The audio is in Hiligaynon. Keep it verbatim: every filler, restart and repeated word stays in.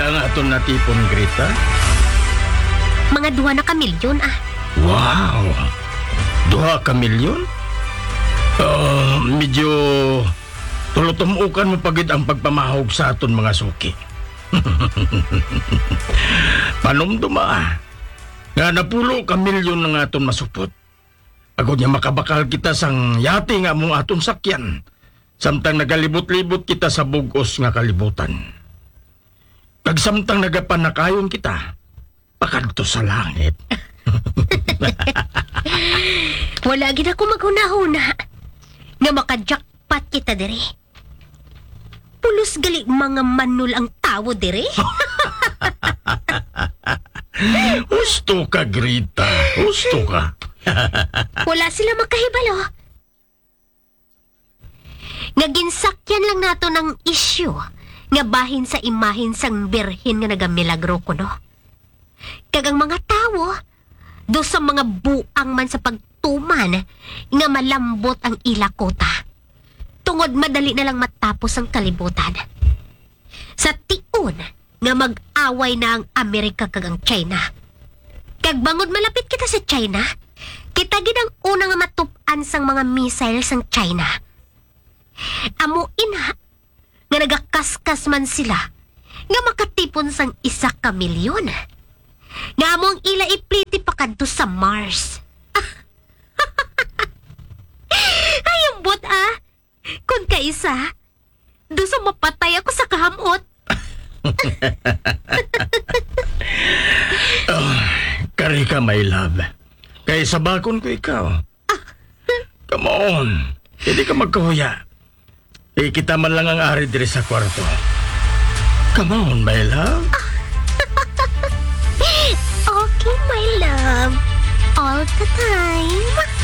Ang aton natipon, Greta? Mga duha na ka milyon, ah. Wow! Duha ka milyon? Ah, medyo tulotumukan mo pa gid ang pagpamahog sa aton mga suki. Panumduma, ah, nga napulo ka milyon ang aton masupot. Agod nga makabakal kita sang yate nga among aton sakyan, samtang nagalibot-libot kita sa bug-os nga kalibutan. Kag samtang nagapanakayon kita, pakadto sa langit. Wala gid ako maghunahuna nga maka-jackpot kita diri. Pulos gali mga manol ang tawo diri. Husto ka, Grita. Husto ka. Wala sila makahibalo nga ginsakyan lang nato ang isyu nga bahin sa imahin sang Birhen nga nagamilagro kuno. Kag ang mga tawo, daw sa mga buang man sa pagtuman nga malambot ang ila kuta, tungod madali na lang matapos ang kalibutan. Sa tion nga mag-away na ang Amerika kag ang China. Kag bangod malapit kita sa China, kita gid ang una nga matup-an sang mga missile sang China. Amo ina nga nagakaskas man sila nga makatipon sang isa ka milyon nga amo ang ila ipliti pakadto sa Mars. Ay, ambot, ah. Kon kaisa, daw sa mapatay ako sa kahamot. Ah, kari ka, my love. Kay sabakon ko ikaw. Come on, hindi ka magkahuya. Eh, kita man lang ang ari diri sa kwarto. Come on, my love. Okay, my love. All the time.